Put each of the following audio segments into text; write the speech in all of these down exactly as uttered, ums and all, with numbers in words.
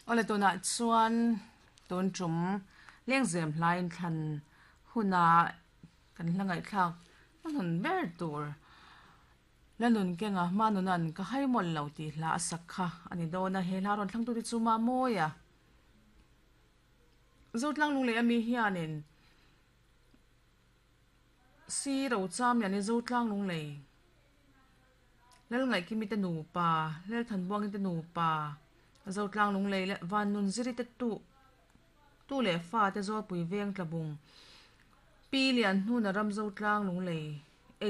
Awle tunah chuan tun tum lengzem hlain thlan huna kan hla ngaihthlak hmun ber tur lanun kenga manunan ka haimol lo ti hla a sak kha ani dawna he hla rawn thlang tu te chu ma mawia zotlang lung leh ami hianin si ro cham lian ni zotlang lung lei lal ngai kimi te nupa lal than buangin te nupa zotlang lung lei le van nun ziri te tu tu le fa te zawlpui veng tlabung pi lian hnuna ram zotlang lung lei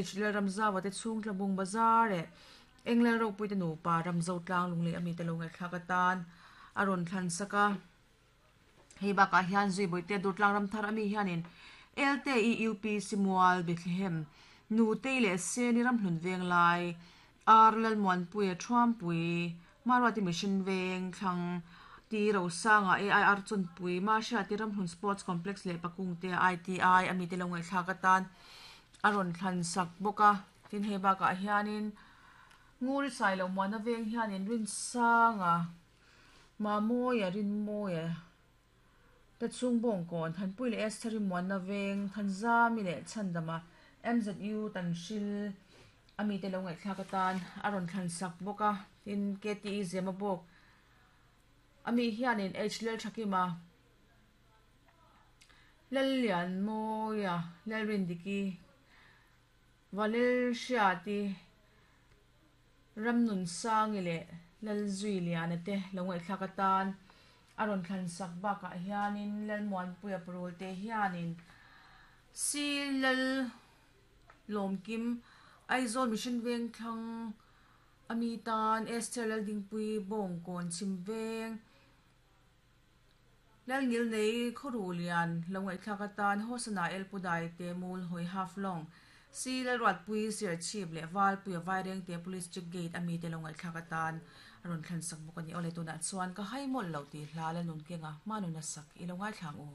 h lal ram zawa te chhung tlabung bazar e england ropui te nupa ram zotlang lung lei ami te lo ngai thlak atan a rawn thlan saka hei bakah hian zui bawihte durtlang ram thar ami hianin L T E U P Simual Bethlehem nutei leh seni ram hlun veng lai R Lalmuanpuia Thuampui Marwati Mission Veng thlang T Rosanga A I R Chunpui Mahriati Ramhlun Sports Complex leh Pakungte I T I ami te lo ngaihthlak atan a rawn thlan sak bawk a tin hei bakah hianin Nguri Sailo Muana veng hianin Rinsanga Mamawia Rinmawia te chhung bawngkawn Thanpui leh Esther Muana veng Thanzami leh Chhandama M Z U Tanhril ami te lo ngaihthlak atan a rawn thlan sak bawk a tin K T E Zema bawk ami hianin H Lal Thakima Lal Lian Mawia Lal Rindiki Valel Hriati Ramnun Sangi leh Lal Zui Liana te lo ngaihthlak atan a rawn thlan sak bakah hianin Lal Muanpuia parul te hianin Si Lal Lawmkim Aizawl Mission Veng thlang ami tan Esther Lal Dingpui Bawngkawn Chhim Veng Lal Ngil Nei Khawru Lian lo ngaihthlak atan Hosana El Pudai te Mul Hawi Half Long Si Lal Ruatpui Serchhip leh Valpuia Vaireng te Police Check Gate ami te lo ngaihthlak atan a rawn thlan sak bawk ani awle tunah chuan ka haimawlh lo ti hla la nun kenga manuna sak i lo ngaithlang u.